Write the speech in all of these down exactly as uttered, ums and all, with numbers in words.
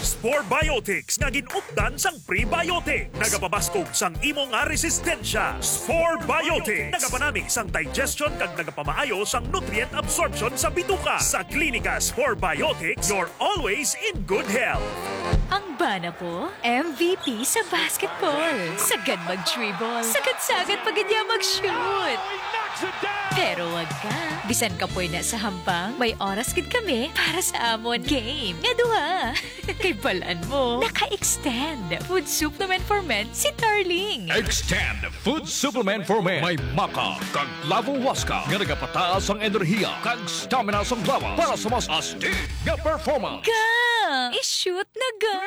Spore Biotics nga gin-updan sang prebiotic. Nagapabaskog sang imo nga resistensya. Spore Biotics. Nagapanami sang digestion kag nagapamaayo sang nutrient absorption sa bituka. Sa Klinika Spore Biotics, you're always in good health. Ang bana ko, M V P sa basketball. Sagad mag-dribble. Sagad-sagad pa gid niya mag-shoot. Pero wag ka. Bisan kapoy na sa hampang, may oras gid kami para sa amon game nga duha. Kay balan mo, naka-extend food supplement for men si Darling. Extend food supplement for men. May maca kag lavo huasca nga nagapataas ang enerhiya kag stamina sang lawas para sa mas astig nga performance. Ga! I-shoot na ga!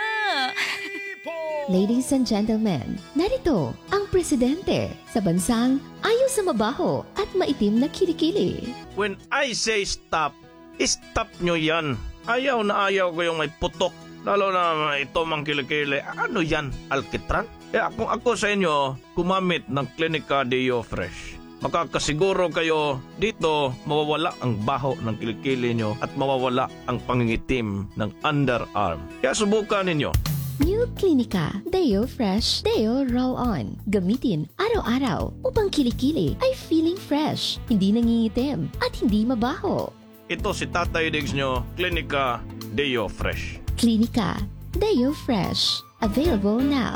Ladies and gentlemen, narito ang presidente sa bansang ayaw sa mabaho at maitim na kilikili. When I say stop, stop nyo yan. Ayaw na ayaw ko yung may putok. Lalo na ito mang kilikili. Ano yan? Alkitran? Kaya kung ako sa inyo, gumamit ng Klinika Deo Fresh. Makakasiguro kayo dito mawawala ang baho ng kilikili nyo at mawawala ang pangingitim ng underarm. Kaya subukan ninyo. New Klinika Deo Fresh Deo Roll On. Gamitin araw-araw upang kilikili ay feeling fresh, hindi nangingitim, at hindi mabaho. Ito si Tatay Diggs nyo, Klinika Deo Fresh. Klinika Deo Fresh. Available now.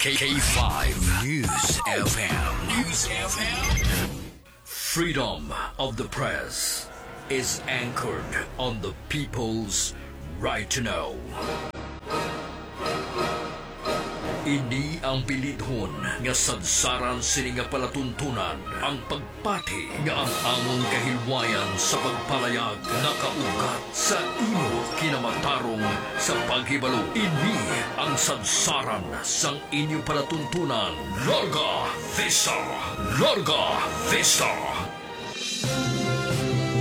K five News F M. News F M. Freedom of the press is anchored on the people's right to know. Ini ang bilidhon nga sadsaran sini nga palatuntunan, ang pagpati nga ang amon kahilwayan sa pagpalayag nakaugat sa imo kinamatarong sa paghibalo. Ini ang sadsaran sang inyo palatuntunan. Larga Vista! Larga Vista!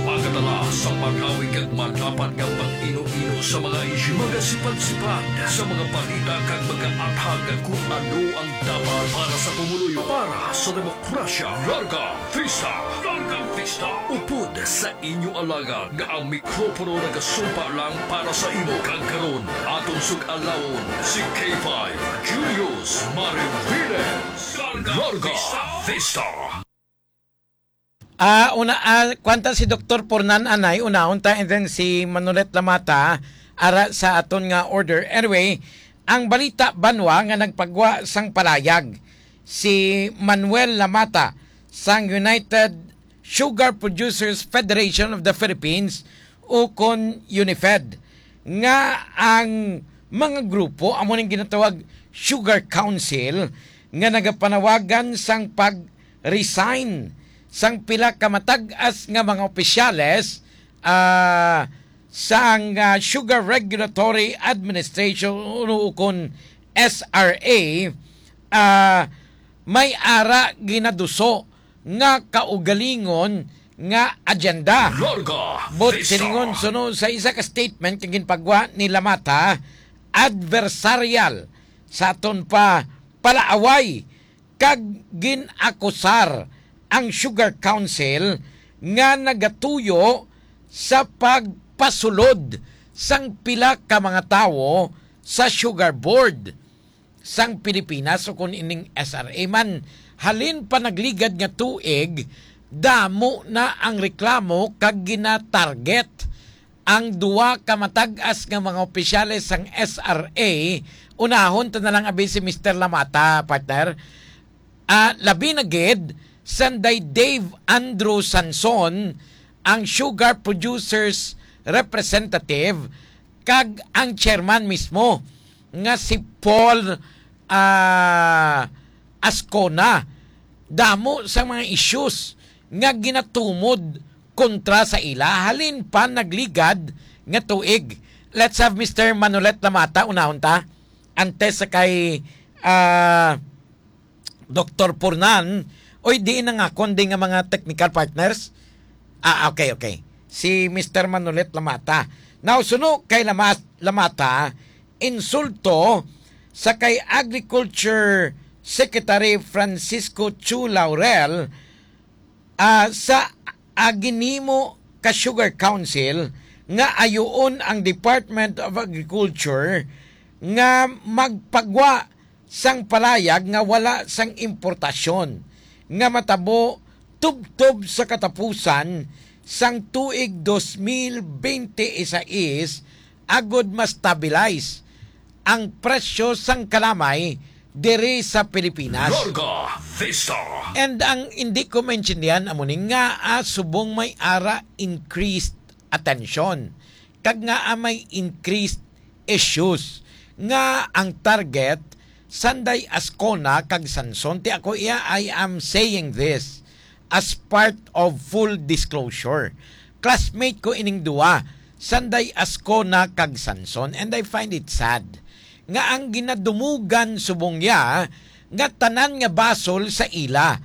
Magadala sa malawig kag malapad nga pag-ino-ino sa mga isyu, magasipad-sipad sa mga balita kag magaathag kon ano ang dapat para sa pumuluyo, para sa demokrasya. Larga Vista! Larga Vista! Upod sa inyo alagad nga ang mikropono nagasumpa lang para sa imo, kag karon aton sug-alawon si K five Julius Mariviles. Larga Vista! Ah, una, ah, kwanta si Doktor Pornan Anay, unahon ta, and then si Manolet Lamata, ara sa aton nga order. Anyway, ang balita banwa nga nagpagwa sang palayag, si Manuel Lamata sang United Sugar Producers Federation of the Philippines, ukon UNIFED, nga ang mga grupo amo ning ginatawag Sugar Council nga nagapanawagan sang pag-resign sang pila ka matag-as nga mga opisyales, ah, sang, ah, Sugar Regulatory Administration, ukon S R A, ah, may ara ginaduso nga kaugalingon nga agenda. Larga But Vista. Silingon suno sa isa ka statement nga ginpagwa ni Lamata, adversarial sa aton pa palaaway kag gin-akusar ang Sugar Council nga nagatuyo sa pagpasulod sang pila ka mga tawo sa Sugar Board sang Pilipinas, ukon ining S R A man. Halin pa nagligad nga tuig, damo na ang reklamo kag ginatarget ang duwa ka matag-as nga mga opisyales sang S R A. Unahon ta na lang abi si Mister Lamata, partner. Ah, labi na gid, sanday Dave Andrew Sanson, ang sugar producers representative, kag ang chairman mismo nga si Paul, ah, Ascona. Damo sa mga issues nga ginatumod kontra sa ila halin pa nagligad nga tuig. Let's have Mister Manolet Lamata, unahon ta. Antes sa kay, ah, Doktor Pornan, oy, di na nga kundi nga mga technical partners. Ah, okay, okay. Si Mister Manolet Lamata. Now, suno kay Lamas-, Lamata, insulto sa kay Agriculture Secretary Francisco Chu Laurel, ah, sa, ah, ginimo ka Sugar Council nga ayuon ang Department of Agriculture nga magpagwa sang palayag nga wala sang importasyon nga matabo tubtob sa katapusan sang tuig dos mil bente y seis agod ma-stabilize ang presyo sang kalamay diri sa Pilipinas. Larga Vista. And ang hindi ko maintindihan amo ni nga, ah, subong may ara increased attention kag nga, ah, may increased issues nga ang target sanday Ascona kag Sanson. Ti ako iya, I am saying this as part of full disclosure. Classmate ko ining duwa, sanday Ascona kag Sanson, and I find it sad nga ang ginadumugan subong ya nga tanan nga basol sa ila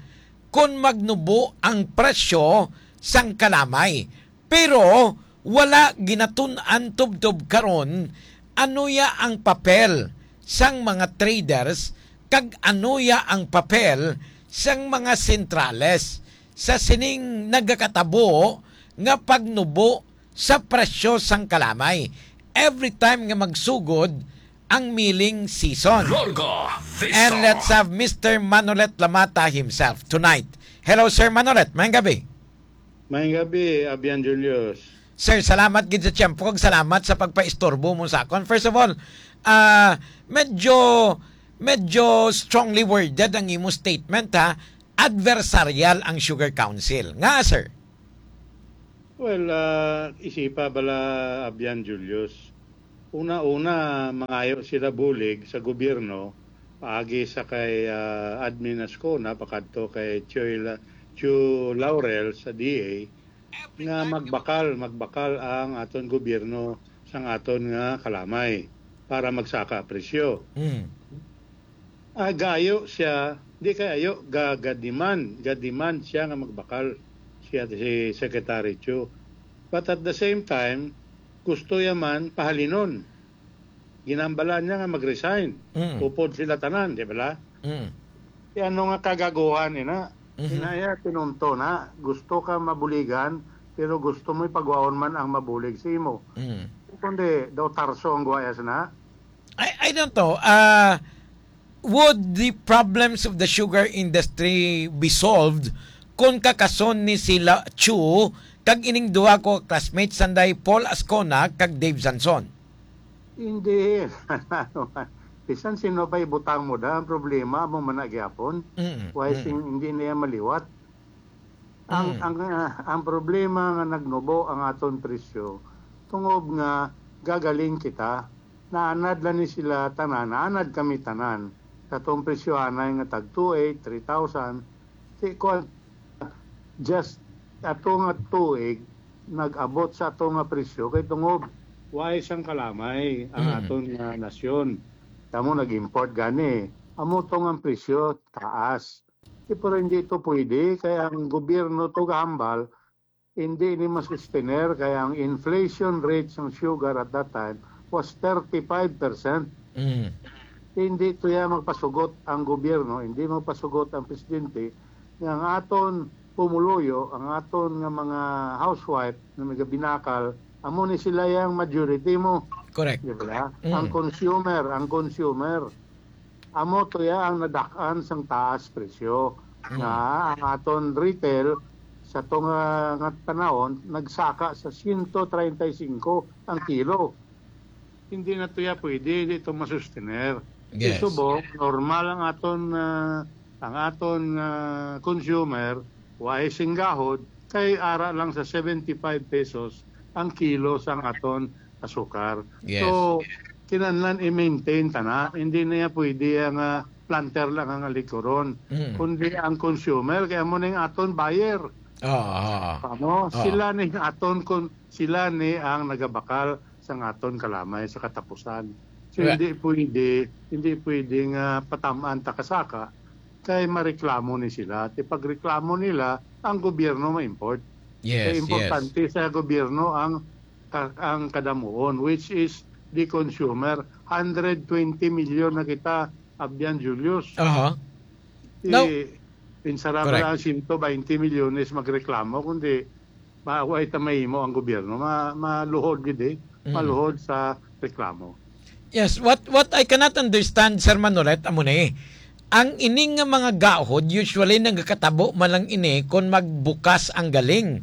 kon magnubo ang presyo sang kalamay. Pero wala ginatun-an tubtob karon ano ya ang papel sang mga traders kag ano ya ang papel sang mga sentrales sa sining nagakatabo nga pagnubo sa presyo sang kalamay every time nga magsugod ang milling season. Larga Vista. And let's have Mister Manolet Lamata himself tonight. Hello, Sir Manolet. Maayong gabi. Maayong gabi, Abian Julius. Sir, salamat gid sa tiyempo kag salamat sa pagpaistorbo mo sa akon. First of all, ah, medyo, medyo strongly worded ang imo statement, ha. Adversarial ang Sugar Council. Nga, sir? Well, ah, isipa bala, Abian Julius. Una-una, mangayo sila bulig sa gobyerno paagi sa kay, ah, Admin Ascona pakadto kay Chuy La-, Chu Laurel sa D A nga magbakal, magbakal ang aton gobyerno sang aton nga kalamay para magsaka presyo. Mm. Ah, gayo siya, di kay ayo, ga-, ga-demand, ga-demand siya nga magbakal siya si Secretary Chu. But at the same time, gusto ya man pahalinon. Ginambalan niya nga mag-resign. Mm. Upod sila tanan, di ba? Mm. Kay ano nga kagaguhan, ina? Mhm. Ina ya, tinunto na. Gusto ka mabuligan, pero gusto mo ipagwaon man ang mabulig sa imo. Mm. Kundi, daw tarso ang guwayas na. I, I don't know. Ah, would the problems of the sugar industry be solved kung kakason ni sila Chu kag ining duha ko classmates, sanday Paul Ascona kag Dave Sanson? Hindi. Bisan sino pa ibutang mo da, ang problema mo man na gyapon. Mm, Why mm. sing-, hindi na yan maliwat? Ang, Mm. ang, ah, ang problema nga nagnubo ang aton presyo, tungod nga gagaling kita, naanad lang ni sila tanan, naanad kami tanan. Sa atong presyohanay nga tag two eight, three thousand, si, kuwan, just ato nga tuig, nag-abot sa ato nga presyo, kay tungod, why sang kalamay ang Mm. aton nga nasyon. Tamo nag-import gani. Amo to nga ang presyo, taas. Eh, pero hindi ito pwede, kaya ang gobyerno to gahambal, hindi ni masustener, kaya ang inflation rate sang sugar at that time was thirty-five percent. Mm. Hindi to ya magpasugot ang gobyerno, hindi magpasugot ang presidente, nga ang aton pumuluyo, ang aton nga mga housewife na nagabinakal, amo ni sila yang majority mo. Correct. Di ba? Mm. Ang consumer, ang consumer. Amo to ya ang nadak-an sang taas presyo. Mm. Nga ang aton retail sa to nga, nga panahon nagsaka sa siyento treinta y cinco ang kilo. Hindi na to ya pwede, hindi to masustener. Yes. Subong, normal ang aton, ah, ang aton, ah, consumer, wa ay singgahod, kay ara lang sa seventy-five pesos ang kilo sang aton asukar. Yes. So, kinahanglan i-maintain ta na. Hindi na ya pwede ang, ah, planter lang ang alikuron. Mm. Kundi ang consumer, kaya mo na yung aton buyer. Oo, oo, oo. Ano? Oo. Sila ni aton kun-, sila ni ang nagabakal sang aton kalamay sa katapusan. So, Right. hindi pwede, hindi pwede nga patamaan ta kasaka kay mareklamo ni sila. Ti pagreklamo nila, ang gobyerno ma-import. Yes, Kay importante yes. sa gobyerno ang ka-, ang kadamuon, which is the consumer. Hundred twenty million na kita, Abyan Julius. Aha. Ti, No. pinsara Correct. Bala ang siyento baynte milyones magreklamo, kundi ma-, way ta mahimo ang gobyerno, ma-, maluhod gid, eh. Mm. Maluhod sa reklamo. Yes, what, what I cannot understand, Sir Manolet, amo ni, ang ining nga mga gahod, usually nagakatabo man lang ini kon magbukas ang galing.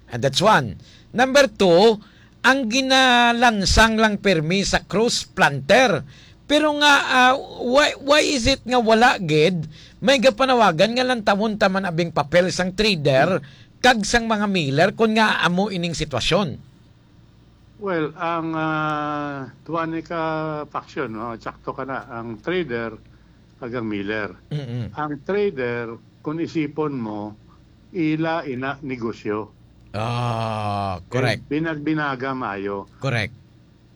And that's one. Number two, ang ginalansang lang pirmi sa cross planter. Pero nga, ah, why, why is it nga wala gid may gapanawagan nga lantawon ta man abing papel sang trader kag sang mga miller kon nga amo ining sitwasyon? Well, ang, ah, duha ni ka faction, no? Sakto ka na, ang trader kag ang miller. Mm-mm. Ang trader, kung isipon mo, ila ina negosyo. Ah, correct. Binagbinaga maayo. Correct.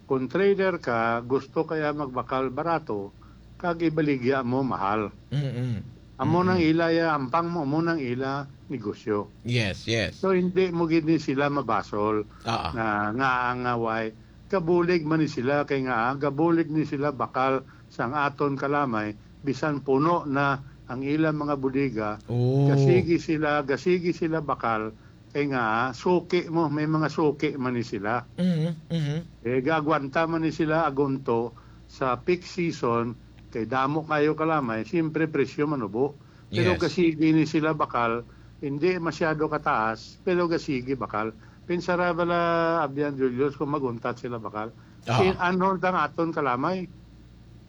Kung trader ka, gusto kaya magbakal barato, kag ibaligya mo mahal. Mm-mm. Amo nang Mm-mm. ila ya, ampang mo, amo nang ila negosyo. Yes, yes. So, hindi mo gid ni sila mabasol Ah, ah. na, nga ang, ah, way, gabulig man ni sila, kay nga, ah, gabulig ni sila bakal sang aton kalamay, bisan puno na ang ilang mga bodega, Oh. gasigi sila, gasigi sila bakal, kay nga, suki mo, may mga suki man ni sila. Mhm, mhm. Eh, gaagwanta man ni sila agunto sa peak season, kay damo kayo kalamay, siyempre presyo manubo. Pero Yes. gasigi ni sila bakal, hindi masyado kataas, pero gasigi bakal. Pinsara bala, Abyan Julius, kung maguntat sila bakal. Oo. Si, ano ang aton kalamay?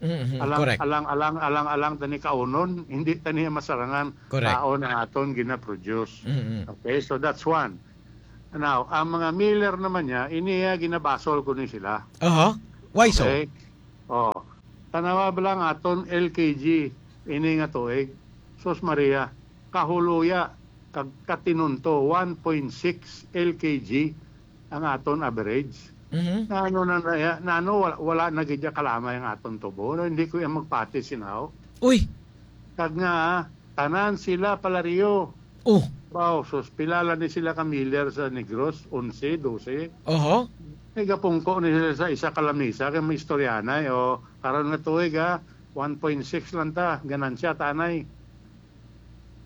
Mhm, Alang, correct. alang, alang, alang, alang tani kaunon, hindi tani masarangan Correct. taon ang aton ginaproduce. Mhm. Okay, so that's one. Now, ang mga miller naman niya, iniya ginabasol ko ni sila. Aha. Why so? Okay? Oh, tanawa ba lang aton L K G ini nga tuig? Sus Maria, kahuluya, kag katinunto, one point six L K G ang aton average. Mhm. Nano na, na, nano wala, wala na gid ya kalamay ang aton tubo? No, hindi ko yan magpati sinaw. Uy! Kag nga, tanan sila palario. Oh. Baw, sus, pilala ni sila ka miller sa Negros, onse, dose. Oho. Nagapungko ni sila sa isa ka lamisa, kay may istoryanay, o, karon nga tuig, ha, one point six lang ta, ganansya, tanay.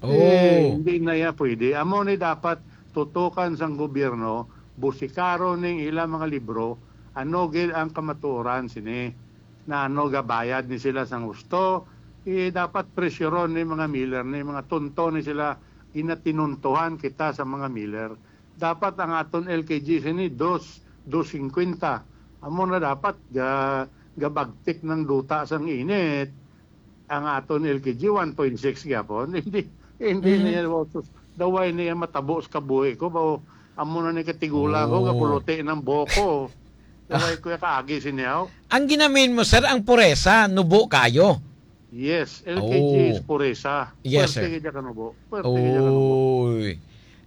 Oh. Eh, hindi na ya pwede. Amo ni dapat tutukan sang gobyerno, busikaron ning ila mga libro, ano gid ang kamatuoran sini. Na ano, gabayad ni sila sang husto, eh, dapat presyoron ni mga miller ni, mga tunto ni sila, ginatinuntohan kita sa mga miller. Dapat ang aton L K G sini, dos, dos singkwenta. Amo na dapat, ga-, gabagtik ng duta sang init. Ang aton L K G, one point six gyapon. Hindi, hindi Mhm. niya, wow, sus, daway niya matabo sa kabuhi ko. Bao, amo na ni katigula ko, Oh. kapuluti ng boko. Daway Ah. ko ya kaagi sinyaw. Ang ginamin mo, sir, ang puresa, nubo kayo. Yes, L K G is Oh. puresa. Yes, Puwerte sir. gid ya kanubo. Puwerte gid ya kanubo. Uy.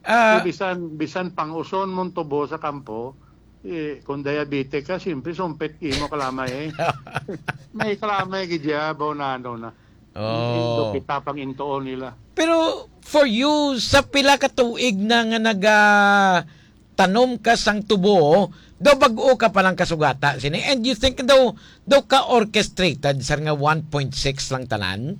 Ah. Eh, bisan, bisan pang-uson mong tubo sa kampo, eh, kung diabetic ka, siyempre, sumpit imo kalamay, eh. May kalamay gid ya, baw na ano na. Oh. Indo kita pang intuon nila. Pero for you, sa pila ka tuig na nga nagatanom ka sang tubo, daw bag-o ka pa lang kasugata sini, and you think daw, daw ka orchestrated, sir, nga one point six lang tanan?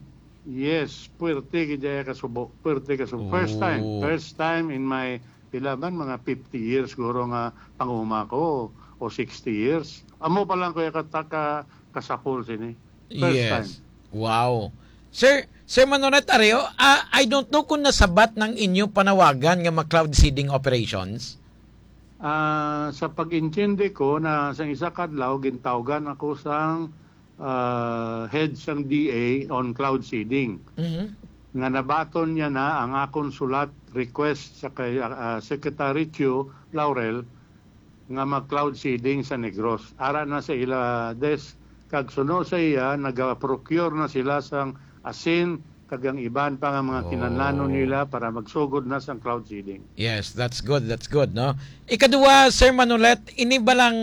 Yes, puwerte gid ya kasubo. Puwerte kasubo. First time. Oh. First time in my, pila man, mga fifty years siguro nga panguma ko, o sixty years. Amo pa lang ko ya kata-, ka-, kasapol sini. First Yes. time. Wow. Sir, Sir Manolet Areo, ah, I don't know kung nasabat ng inyo panawagan nga ma-cloud seeding operations? Ah, sa pag-intindi ko na sa isa ka adlaw, gintawgan ako sang, ah, head sang D A on cloud seeding. Mhm. Nga nabaton niya na ang akon sulat request sa kay, ah, Secretary Chu Laurel nga mag-cloud seeding sa Negros. Ara na sa ila desk, kag suno sa iya, naga-procure na sila sang asin kag ang iban pa nga mga kinahanglanon Oh. nila para magsugod na sang cloud seeding. Yes, that's good, that's good, no? Ikaduha, Sir Manolet, ini ba lang,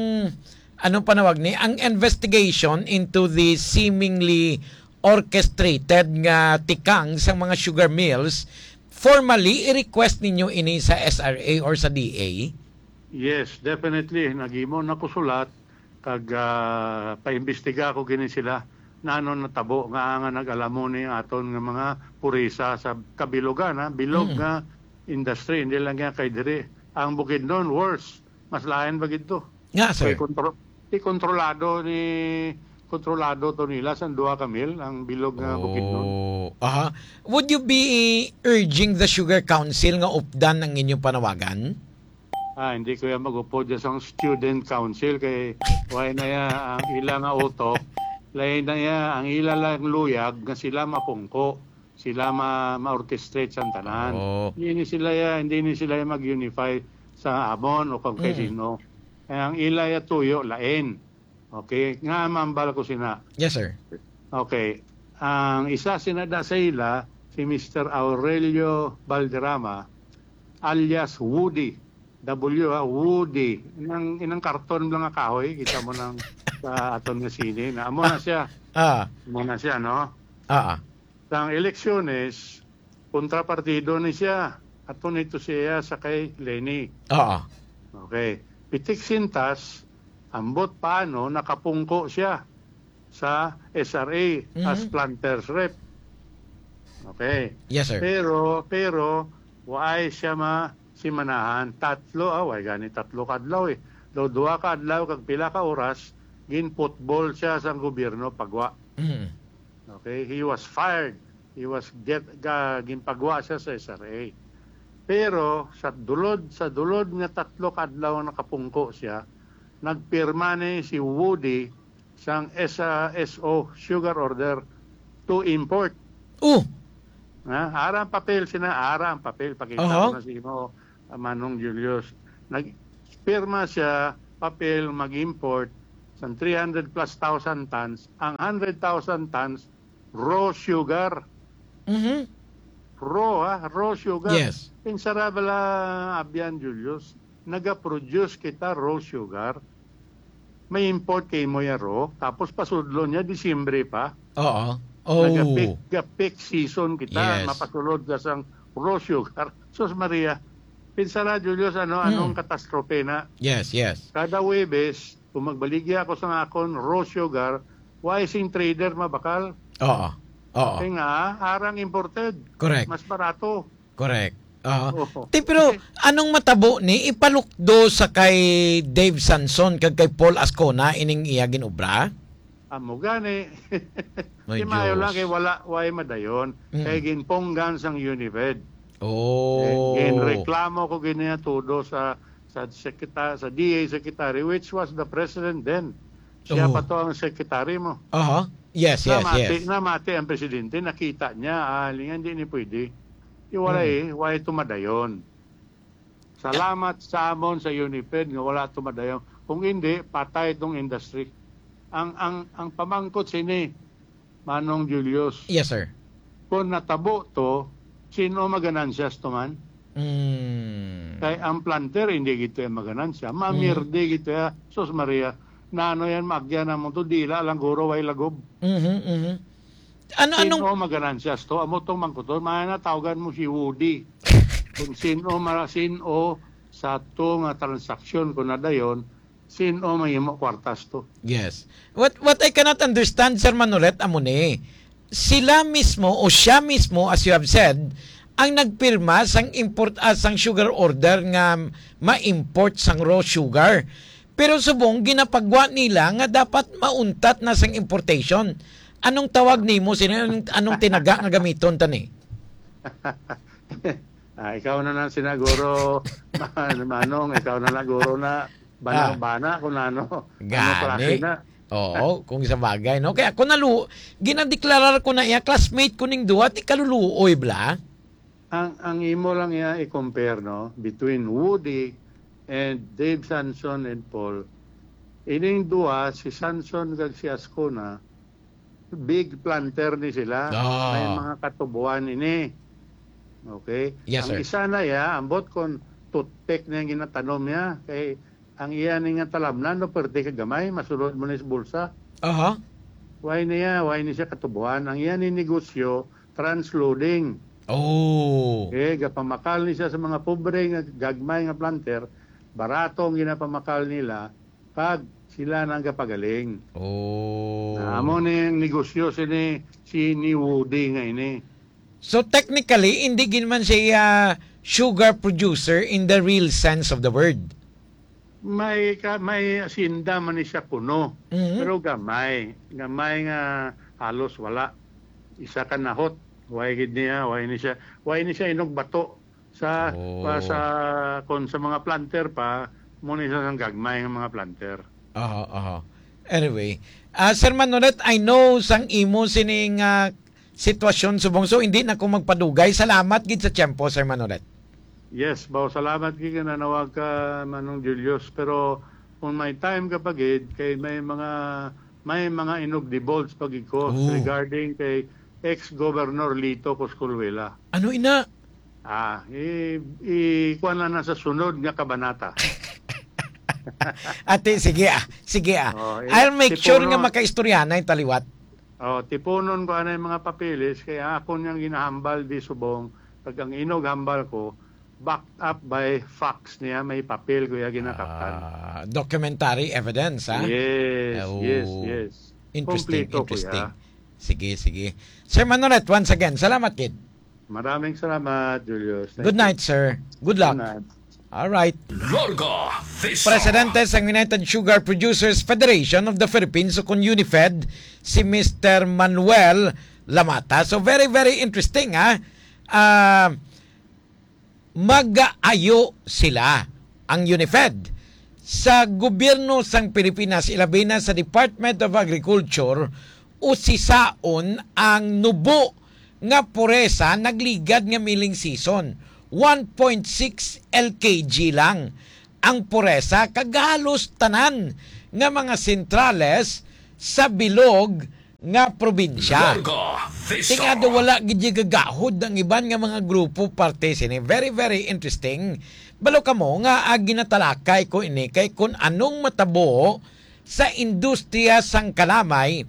anong panawag ni, ang investigation into the seemingly orchestrated nga tikang sa mga sugar mills, formally i-request ninyo ini sa S R A or sa D A? Yes, definitely. Naghimo na ko sulat kag, ah, paimbestiga ko gini sila. Nano natabo nga, nga nag-alamon ni aton nga mga purisa sa kabilugan, ha? Bilog Mm. nga industry, hindi lang yan kay diri. Ang Bukidnon, worse. Mas lain pa gid to. Nga, sir. Kay kontro-, kay kontrolado ni, kontrolado to nila sa duha ka mil ang bilog nga Bukidnon. Oh, aha. Would you be urging the Sugar Council nga updan ang inyong panawagan? Ah, hindi ko yan mag-upod dyan sa student council kay why na ya ang ila nga utok, lain na ya ang ila lang luyag nga sila mapungko, sila ma-, ma-orchestrate sa tanan. Oh. Hindi ni sila ya, hindi ni sila ya mag-unify sa amon o kung kay Mm. sino. Eh, ang ila ya tuyo, lain. Okay, nga mambal ko sina. Yes, sir. Okay. Ang isa sina da sa ila, si Mister Aurelio Valderrama, alias Woody. W, ha, Woody. Inang, inang karton lang nga kahoy, kita mo nang sa aton nga sine. Na, amo na siya. Ah. Amo na siya, no? Ah, ah. Sang eleksyones, kontrapartido ni siya. Ato nito siya sa kay Leni. Oo. Okay. Pitik sintas, ambot paano nakapungko siya sa S R A as Mhm. planters rep. Okay. Yes, sir. Pero, pero, waay siya ma-, simanahan. Tatlo, ah, way gani tatlo ka adlaw eh. Daw duha ka adlaw kag pila ka oras, gin-football siya sang gobyerno, pagwa. Mhm. Okay, he was fired. He was get, ga-, ginpagwa siya sa S R A. Pero sa dulod, sa dulod nga tatlo ka adlaw nga nakapungko siya, nagpirma ni si Woody sang S-, S O sugar order to import. Oh. Ha? Ara ang papel sina, ara ang papel. Pakita Aha. ko na sa imo, ah, Manong Julius. Nagpirma siya papel mag-import sang three hundred plus thousand tons. Ang hundred thousand tons, raw sugar. Mhm. Raw, ha? Raw sugar. Yes. Pinsara bala, Abyan Julius, naga-produce kita raw sugar. May import kay mo ya raw, tapos pasudlo niya, Disyembre pa. Oo. Oh. Naga-peak, ga-peak season kita, Yes. mapasulod ka sang raw sugar. Sus Maria, pinsara, Julius, ano, Hmm. anong katastrope na? Yes, yes. Kada Huwebes, kung magbaligya ako sa akon raw sugar, why sing trader mabakal? Oo. Oo. Kaya nga, arang imported. Correct. Mas barato. Correct. Oo. Oo. Ti, pero anong matabo ni ipalukdo sa kay Dave Sanson kag kay Paul Ascona ining iya ginobra? Amo gani. Ay, Di maayo lang Diyos. kay wala, way madayon. Mm. Kay ginpunggan sang Unimed. Oh. Eh, ginreklamo ko gini todo sa, sa sekta-, sa D A secretary, which was the president then. Siya Oh. pa to ang secretary mo. Aha. Yes, yes, Namati, yes. namati ang presidente, nakita niya, ah, lingan, di ni pwede. Di wala Mm. eh, wala ito madayon. Salamat sa amon sa Unimed nga wala ito madayon. Kung hindi, patay itong industry. Ang, ang, ang pamangkot sini, Manong Julius, Yes, sir. kung natabo to, sino maganansyas to man? Mm. Kay ang planter, hindi gito yung maganansya. Mamirdi Mm. gito ya. Sus Maria, nano yan, maagyan na mo to, dila lang guro, way lagob. Mhm, mhm. Ano, Sino anong maganansyas to? Amo tong mangkuton, mga na, tawagan mo si Woody. Kung sino, mara, sino sa to nga transaksyon, kung nadayon, sino mahimo kwartas to? Yes. What, what I cannot understand, Sir Manolet, amo ni, sila mismo o siya mismo, as you have said, ang nagpirma sang import, ah, sang sugar order nga ma-import sang raw sugar. Pero subong ginapagwa nila nga dapat mauntat na sang importation. Anong tawag nimo sini? Anong, anong tinaga nga gamiton tani? Ah, ikaw na lang sinaguro, man-, Manong, ikaw na lang guro na bana-, Ah. bana kung ano, ano Gani. klase na. Oo, kung sa bagay, no? Kaya ako nalu-, ginadeklarar ko na iya, classmate ko ning duwa, ti kaluluoy bala. Ang, ang imo lang iya i-compare, no, between Woody and Dave Sanson and Paul. Ining duwa, si Sanson kag si Ascona, big planter ni sila. Ah. May mga katubuan ini. Okay? Yes, Ang sir. isa na iya, ambot kon toothpick na yung ginatanom niya. Kay ang iya ni nga talamnan, no, pwerte ka gamay, masulod mo na sa bulsa. Aha. Why niya? Why ni siya katubuan? Ang iya ni negosyo, transloading. Oh. Eh, gapamakal ni siya sa mga pobre nga gagmay nga planter, barato ang ginapamakal nila, kag sila nang gapagaling. Oh. Na amo ni ang negosyo sini, si ni Woody nga ini. So, technically, hindi gid man siya, ah, sugar producer in the real sense of the word. May ka, may asinda man ni siya kuno, Mhm. pero gamay, gamay nga halos wala. Isa ka nahot, way gid niya, way ni siya, way ni siya inugbato sa, Oh. pa sa, kon sa mga planter pa, mo ni siya sang gagmay nga mga planter. Aha, aha. Anyway, ah, Sir Manolet, I know sang imo sining, ah, sitwasyon subong, so hindi na ko magpadugay. Salamat gid sa tiyempo, Sir Manolet. Yes, baw, salamat gid nga nanawag ka, Manong Julius. Pero kung may time ka pa gid, kay may mga, may mga inugdibulge pa gid ko Oh. regarding kay ex-Governor Lito Coscolwela. Ano ina? Ah, i, i, kuwan lang na sa sunod nga kabanata. Ate, sige ah. Sige ah. Oh, i, I'll make sure nga tipunon. Makaistorya na yung taliwat. Oh, tipunon ko anay mga papeles, kaya ako niyang ginahambal di subong, pag ang inog hambal ko, backed up by facts niya, may papel ko ya ginakaptan. Ah, documentary evidence, ha? Yes, Oh. yes, yes. Interesting, Kompleto ko interesting. Ya. Sige, sige. Sir Manolet, once again, salamat gid. Maraming salamat, Julius. Thank Good you. Night, sir. Good luck. Good night. All right. Larga Vista. Presidente sang United Sugar Producers Federation of the Philippines, o kon UNIFED, si Mister Manuel Lamata. So, very, very interesting, ha? Ah, mag-ayo sila, ang UNIFED, sa gobyerno sang Pilipinas, ilabi na sa Department of Agriculture, usisaon ang nubo nga puresa nagligad nga milling season. One point six L K G lang ang puresa, kag halos tanan nga mga sentrales sa bilog nga probinsya. Larga Vista. Tingado wala gid gagahod ang iban nga mga grupo parte sini. Very, very interesting. Balo kamo nga, ah, ginatalakay ko ini kay kun anong matabo sa industriya sang kalamay,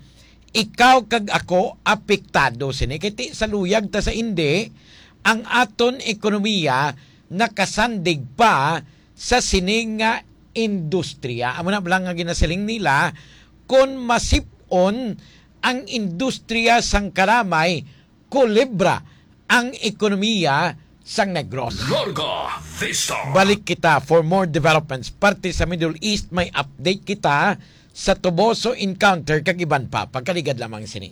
ikaw kag ako apektado sini. Kay ti sa luyag ta sa indi, ang aton ekonomiya nakasandig pa sa sini nga industriya. Amo na lang nga ginasiling nila, kon masip-on ang industriya sang kalamay, kulibra ang ekonomiya sang Negros. Larga Vista. Balik kita for more developments. Parte sa Middle East, may update kita sa Toboso encounter kag iban pa. Pagkaligad lamang sini.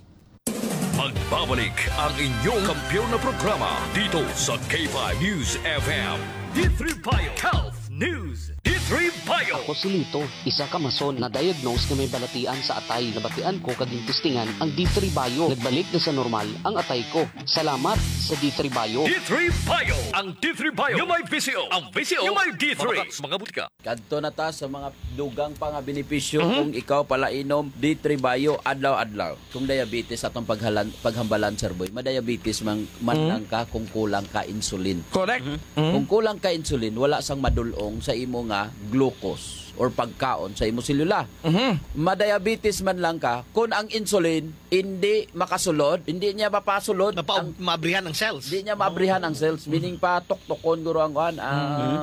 Magbabalik ang inyong kampiyon na programa dito sa K five News F M. D three Bio Health News. D three Bio. Ako si Lito, isa ka mason na diagnose nga may balatian sa atay. Nabatian ko kag gintistingan ang D three Bio. Nagbalik na sa normal ang atay ko. Salamat sa D three Bio. D three Bio. Ang D three Bio. Yung may V C O. Ang V C O. Yung may D three. Mga, mga butika. Kadto na ta sa mga dugang pa nga benepisyo Mhm. kung ikaw palainom D three Bio adlaw-adlaw. Kung diabetes atong paghalan, paghambalan, Sir Boy, madiabetes man, man Mhm. lang ka kung kulang ka insulin. Correct. Mhm. Mhm. Kung kulang ka insulin, wala sang madulong sa imo nga glucose or pagkaon sa imo selula. Mhm. Madiabetes man lang ka kung ang insulin hindi makasulod, hindi niya mapasulod Mapa-, ang maabrihan ang cells. Hindi niya maabrihan ang cells, meaning patuktokon guro ang kuan, ang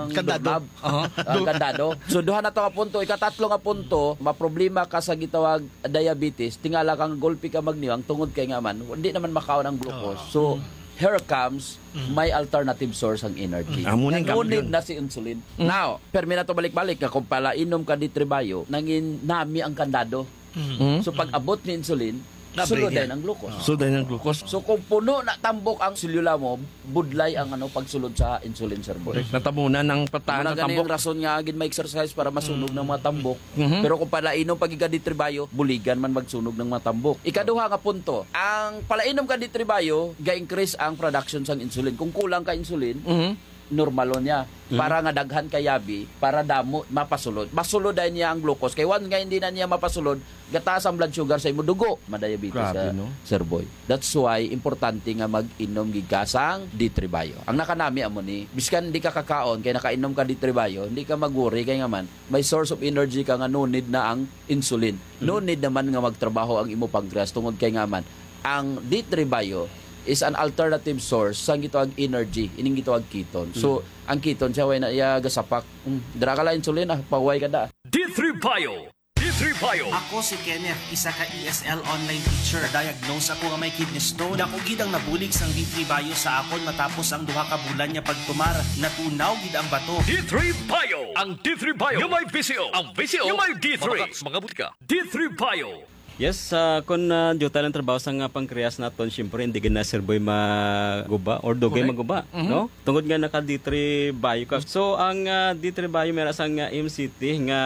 Mhm. Kandado. Doorknob. Aha. Ang kandado. So, duha na to nga punto. Ikatatlo nga punto, maproblema ka sa gitawag diabetes. Tingala kang gulpi ka magniwang tungod kay nga man, hindi naman makaon ang glucose. Oo. So, Mm. here comes Mm. my alternative source ang energy. Mm. Amo ning Nga no need kampiyon. Na si insulin. Mm. Now, permi na to balik-balik nga kung palainom ka D three Bio, nangin nami ang kandado. Mm. Mm. So, pag abot ni insulin, Nabre sulod niya. Din ang glucose. Ah. Sulod din ang glucose. So, kung puno na tambok ang selula mo, budlay ang, ano, pagsulod sa insulin, Sir Boy. Correct. Natabunan ang patahan Muna sa gani tambok. Ang rason nga gid may exercise para masunog Mm. ng mga tambok. Mhm. Pero kung palainom pag ika D three Bio, buligan man magsunog ng mga tambok. Ikaduha nga punto, ang palainom ka D three Bio, ga-increase ang production sang insulin. Kung kulang ka insulin, Mhm. normalon niya. Mhm. Para nga daghan ka yabi, para damo, mapasulod. Masulod dayon niya ang glucose. Kay once nga hindi na niya mapasulod, gataas ang blood sugar sa imo dugo. Madiabetes Grabe, sa no? Sir Boy. That's why importante nga mag-inom gid ka sang D three Bio. Ang nakanami amo ni, biskan hindi ka kakaon, kay nakainom ka D three Bio, hindi ka mag-worry kay nga man, may source of energy ka nga no need na ang insulin. No Mhm. need naman nga magtrabaho ang imo pancreas tungod kay nga man, ang D three Bio is an alternative source sa gitawag energy, ining gitawag ketone. So, Mhm. ang ketone siya, way na iya gasapak. Mm, dira ka lang insulin, ah, pahuway ka da. D three Bio. D three Bio. Ako si Kenneth, isa ka E S L online teacher. Na-diagnose ako nga may kidney stone. Dako gid ang nabulig sang D three Bio sa akon matapos ang duha ka bulan nga pagtumar. Natunaw gid ang bato. D three Bio. Ang D three Bio nga may V C O. Ang V C O nga may D three. Mabakat sa mga butika. D three Bio. Yes, ah, kung, ah, duta lang trabaho sa nga pancreas naton, siyempre, hindi gid na, Sir Boy, maguba or dugay Correct. maguba, Mhm. no? Tungod nga naka D three Bio ka. So, ang, ah, D three Bio, may ra sang, ah, M C T nga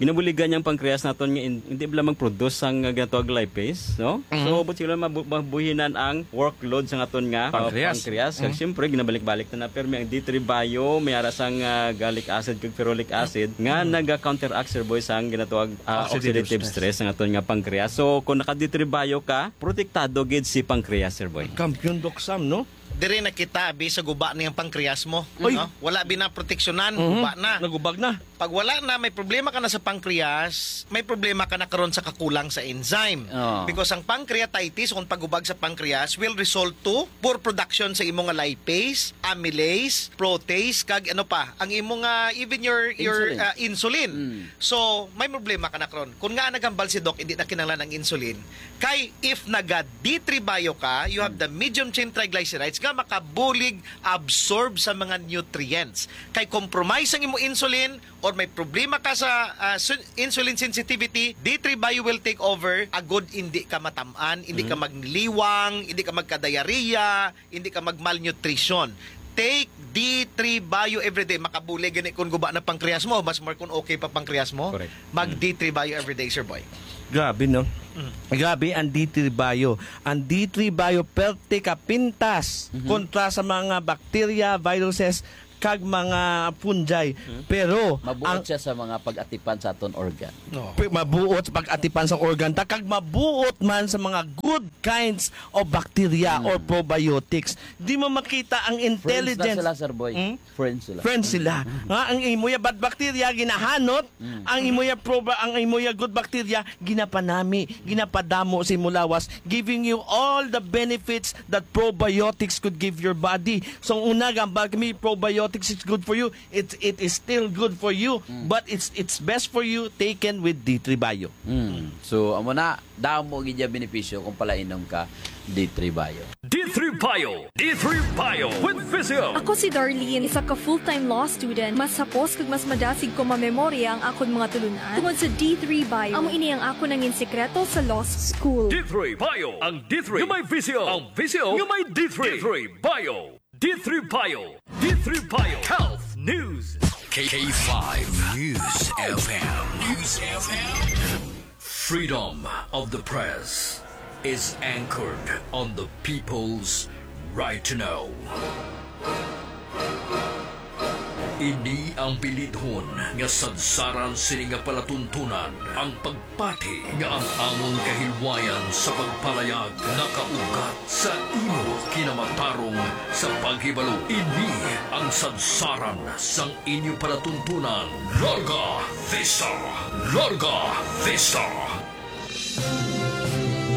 ginabuligan niyang pancreas naton nga in-, hindi bala mag-produce sang, ah, ginatawag lipase, no? Mhm. So, but sila mabu-, mabuhinan ang workload sa aton nga, ah, Pancreas. pancreas. Kag Mhm. siyempre, ginabalik-balik na na, pero may ang D three Bio, may ara sang, ah, gallic acid kag ferulic acid nga Mhm. naga-counteract, Sir Boy, sang ginatawag, ah, Oxidative oxidative stress. stress ang aton nga pancreas. So, kung naka D three Bio ka, protektado gid si pancreas, Sir Boy. Kampiyon, Doc Sam, no? Diri na kita, abi, sa guba niyang pancreas mo, Uy. no? Wala bi na proteksyonan, Mhm. guba na. Nagubag na. Pag wala na, may problema ka na sa pancreas, may problema ka na karon sa kakulang sa enzyme. Oh. Because ang pancreatitis, kung pagubag sa pancreas, will result to poor production sa imo nga lipase, amylase, protease, kag ano pa, ang imo nga, even your, your, Insulin. ah, insulin. Mm. So, may problema ka na karon. Kung nga naghambal si Doc, hindi na kinahanglan ang insulin. Kay, if naga D three Bio ka, you have Mm. the medium chain triglycerides nga makabulig absorb sa mga nutrients. Kay compromise ang imo insulin or may problema ka sa, ah, su-, insulin sensitivity, D three Bio will take over. Agod hindi ka matam-an, hindi ka Mm. magliwang, hindi ka magka-diarrhea, hindi ka mag-malnutrition. Take D three Bio everyday. Makabulig gani kung guba na pancreas mo, mas more kung okay pa pancreas mo. Correct. Mag Mm. D three Bio everyday, Sir Boy. Grabe, no? Mm. Grabe ang D three Bio. Ang D three Bio perte ka pintas Mhm. kontra sa mga bakterya, viruses, kag mga fungi. Mhm. Pero Mabuot ang siya sa mga pag-atipan sa aton organ. No. Pi-, mabuot sa pag-atipan sa organ ta, kag mabuot man sa mga good kinds of bacteria Mm. or probiotics. Di mo makita ang Friends na intelligence. sila, Sir Boy. Hmm? Friends sila. Friends sila. Mm. Nga ang imo ya bad bacteria ginahanot, Mm. ang imo ya proba-, ang imo ya good bacteria ginapanami, ginapadamo sa imo lawas, giving you all the benefits that probiotics could give your body. So, una, gambal kami, probiotics is good for you. It, it is still good for you, Mm. but it's, it's best for you taken with D three Bio. Mm. So, amo na, damo gid ya benepisyo kung palainom ka D three Bio. D three Bio. D three Bio with Physio. Ako si Darlene, isa ka full-time law student. Mas hapos kag mas madasig ko mamemorya ang akon mga tulunan tungod sa D three Bio. Amo ini ang akon nangin sikreto sa law school. D three Bio. Ang D three nga may visyo. Ang visyo nga may D three. D three Bio. D three Bio. D three Bio. Health News. K five News F M. News F M. Freedom of the press is anchored on the people's right to know. Ini ang bilidhon nga sadsaran sini nga palatuntunan, ang pagpati nga ang amon kahilwayan sa pagpalayag nakaugat sa imo kinamatarong sa paghibalo. Ini ang sadsaran sang inyo palatuntunan. Larga Vista! Larga Vista!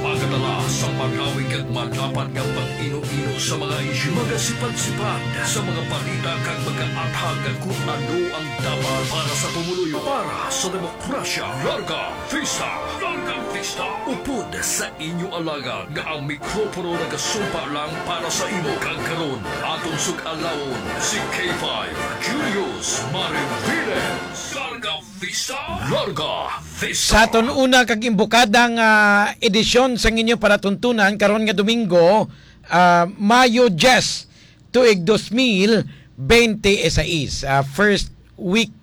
Magadala sa malawig kag madapad nga pag-ino-ino sa mga isyu, magasipad-sipad sa mga balita kag magaathag kung ano ang dapat para sa pumuluyo, para sa demokrasya. Larga Vista! Larga Vista! Upod sa inyo alagad nga ang mikropono nagasumpa lang para sa imo, kag karon aton sug-alawon si K five Julius Mariviles. Larga Vista! Larga Vista! Sa aton una kag imbukada nga edisyon sang inyo palatuntunan karon nga Domingo, ah, Mayo diyes, tuig dos mil bente y seis, ah, first week,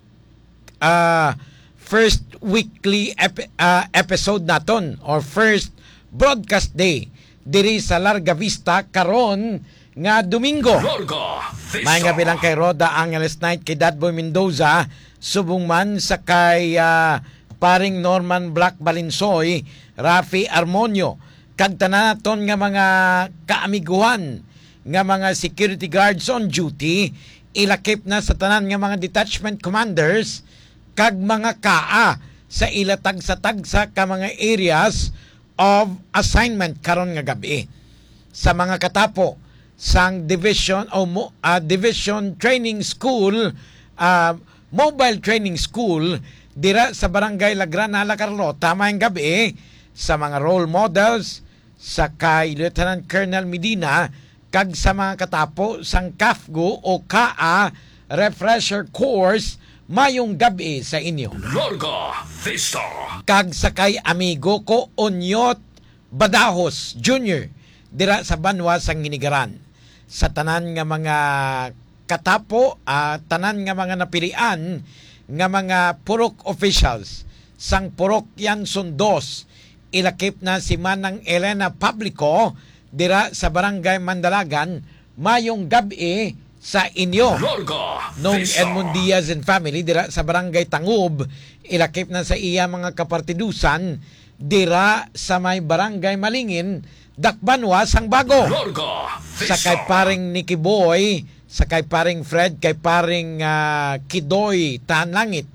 ah, first weekly ep-, ah, episode naton or first broadcast day diri sa Larga Vista karon nga Domingo. Larga Vista. May nga bilang kay Rhoda Angeles Knight, kay Dadboy Mendoza, subong man sa kay, ah, paring Norman Black Balinsoy, Rafi Armonio, kag tanan naton nga mga kaamiguhan nga mga security guards on duty, ilakip na sa tanan nga mga detachment commanders kag mga kaa sa ila tagsa-tagsa ka mga areas of assignment karon nga gab-i. Sa mga katapo sang division o mo-, ah, division training school, ah, mobile training school dira sa Barangay Lagrana, La Carlota, mayong gabi sa mga role models sa kay Lieutenant Colonel Medina kag sa mga katapo sang CAFGU o kaa Refresher Course, mayong gabi sa inyo. Larga Vista. Kag sa kay amigo ko, Onyot Badajos Junior, dira sa banwa sang Hinigaran. Sa tanan nga mga katapo, ah, tanan nga mga napilian nga mga purok officials sang Purok Yanson Dos, ilakip na si Manang Elena Publico dira sa Barangay Mandalagan, mayong gab-i sa inyo. Larga Nung Vista. Edmond Diaz and family dira sa Barangay Tangub, ilakip na sa iya mga kapartidusan dira sa may Barangay Malingin, Dakbanwa sang Bago. Larga Sa kay Vista. Paring Nicky Boy, sa kay Paring Fred, kay Paring, ah, Kidoy Tahan Langit,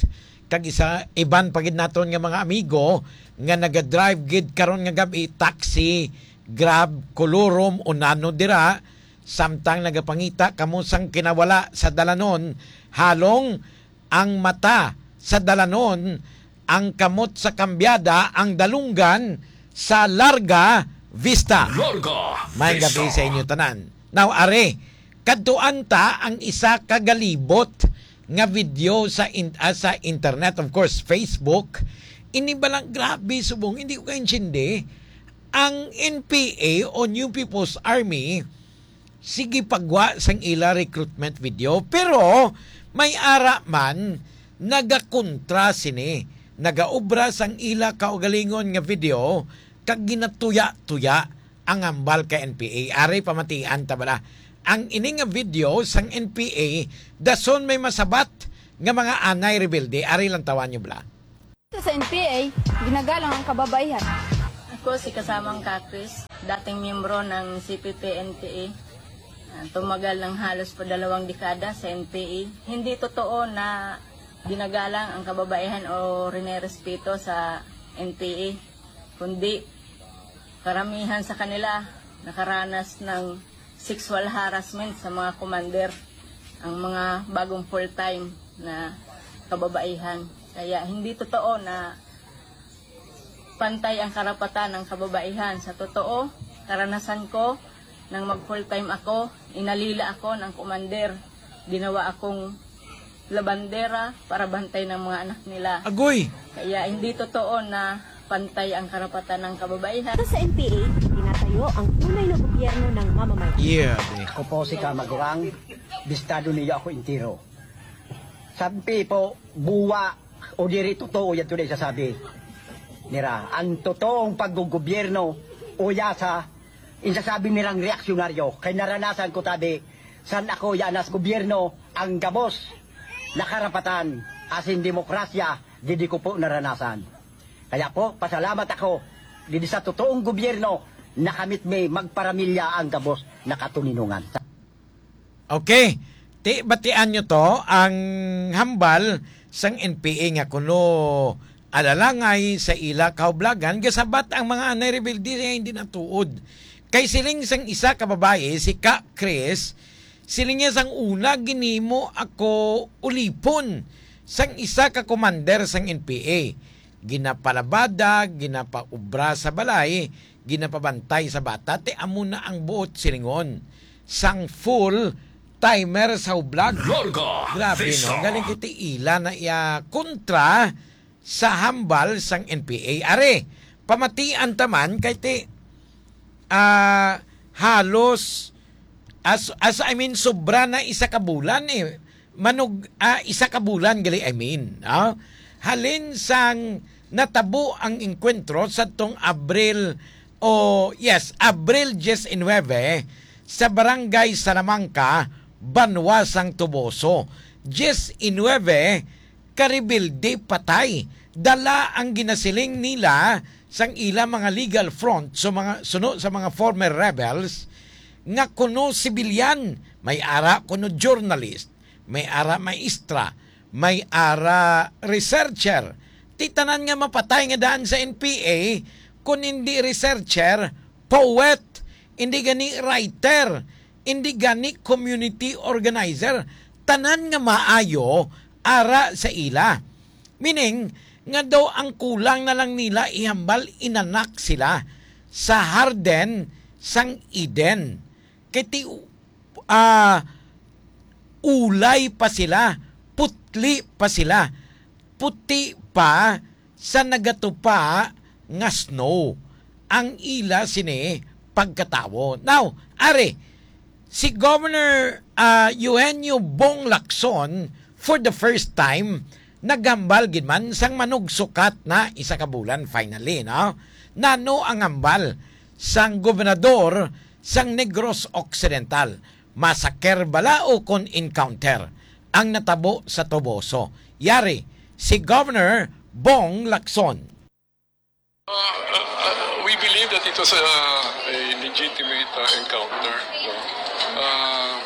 kag isa iban pa gid naton nga mga amigo nga nagadrive gid karon nga gab-i, taxi, Grab, Colorum, o nano dira, samtang nagapangita kamo sang kinawala sa dalanon, halong ang mata sa dalanon, ang kamot sa kambyada, ang dalunggan sa Larga Vista. Larga May gabi Vista. Sa inyo tanan. Now, are, kadtuan ta ang isa ka galibot nga video sa in-, ah, sa internet, of course, Facebook. Ini ba lang, grabe, subong, hindi ko kaintindi. Ang N P A o New People's Army, sige pagwa sang ila recruitment video, pero may ara man nagakontra sini, nagaobra sang ila kaugalingon nga video kag ginatuya-tuya ang hambal kay N P A. Ari, pamatian ta bala ang ini nga video sang N P A, dason may masabat nga mga anay rebelde. Ari, lantawan nyo bala. Sa N P A, ginagalang ang kababaihan. Ako si Kasamang Kakris, dating miyembro ng C P P N P A. Ah, tumagal ng halos padalawang dekada sa N P A. Hindi totoo na ginagalang ang kababaihan o rinerespeto sa N P A, kundi karamihan sa kanila nakaranas ng sexual harassment sa mga commander, ang mga bagong full-time na kababaihan. Kaya hindi totoo na pantay ang karapatan ng kababaihan. Sa totoo, karanasan ko, nang mag-full-time ako, inalila ako ng commander. Ginawa akong labandera para bantay ng mga anak nila. Agoy! Kaya hindi totoo na pantay ang karapatan ng kababaihan. Sa N P A, tinatayo ang tunay na gobyerno ng mamamayan. Yeah, eh. Ako po si Kamagurang, bistado niyo ako entero. Sampi po, buwa, o diri totoo yan tunay sasabi nira. Ang totoong paggugobyerno, o yasa, insasabi nilang reaksyonaryo, kay naranasan ko tabi, san ako yanas gobyerno, ang gabos, nakarapatan, asin demokrasya, didi ko po naranasan. Kaya po, pasalamat ako, didi sa totoong gobyerno, nakamit mi magparamilya ang gabos, nakatuninungan. Okay. Ti, batian nyo to, ang hambal sang N P A nga kuno alalangay sa ila kahublagan, gasabat ang mga anay rebelde nga hindi natuod. Kay siling sang isa ka babayi, si Ka Chris, siling niya, "Sang una, ginimo ako ulipon sang isa ka commander sang N P A. Ginapalabada, ginapaubra sa balay, ginapabantay sa bata, ti amo na ang buot silingon sang full timer sa hublag." Larga Grabe, Vista. No? Galing kiti ila na iya kontra sa hambal sang N P A. Are, pamatian ta man kay ti, ah, halos, as, as, I mean, sobra na isa ka bulan, eh. Manug-, ah, isa ka bulan gali, I mean, ah. Halin sang natabo ang engkwentro sadtong Abril, o, yes, Abril diecinuebe, sa Barangay Salamanca, Banwa sang Toboso. Diecinuebe ka rebelde patay. Dala ang ginasiling nila sang ila mga legal front sa mga, suno sa mga former rebels nga kuno sibilyan, may ara kuno journalist, may ara maestra, may ara researcher. Ti tanan nga mapatay nga daan sa N P A, kun hindi researcher, poet, hindi gani writer, hindi gani community organizer, tanan nga maayo ara sa ila. Meaning, nga daw ang kulang na lang nila ihambal inanak sila sa harden sang Eden. Kay ti, ah, ulay pa sila, putli pa sila, puti pa sa nagatupa nga snow ang ila sini pagkatawo. Now, ari, si Governor, ah, Eugenio Bong Lacson, for the first time, naghambal gid man sang manugsukat na isa ka bulan finally, no? Nano ang hambal sang gobernador sang Negros Occidental? Massacre bala o kon encounter ang natabo sa Toboso? Yari si Governor Bong Lacson. Uh, uh, uh, we believe that it was a, a legitimate, uh, encounter. No? Uh,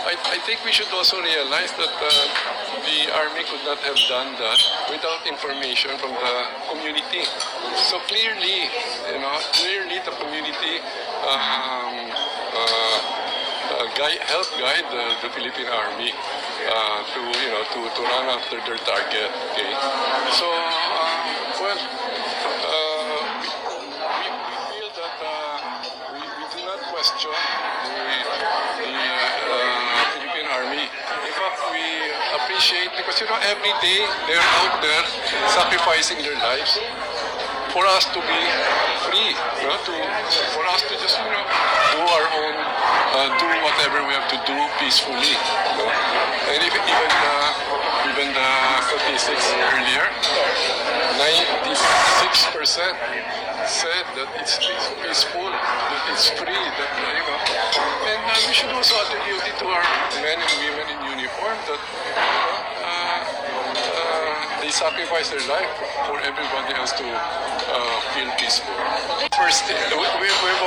I, I think we should also realize that, uh, the army could not have done that without information from the community. So clearly, you know, clearly the community, um, uh, uh, guide, help guide the, the Philippine Army, uh, to, you know, to, to run after their target. Okay, so, uh, well, uh, we, we, we feel that, uh, we, we do not question the, the, uh, Philippine Army. In fact, we appreciate because, you know, every day they're out there sacrificing their lives for us to be free, you know, to, for us to just, you know, do our own, uh, do whatever we have to do peacefully. You know? And if, even the, even the statistics earlier, ninety-six percent said that it's peace- peaceful, that it's free, that, you know. And, uh, we should also attribute it to our men and women in uniform that, uh, uh, they sacrifice their life for everybody else to, uh, feel peaceful. First, we, we, we've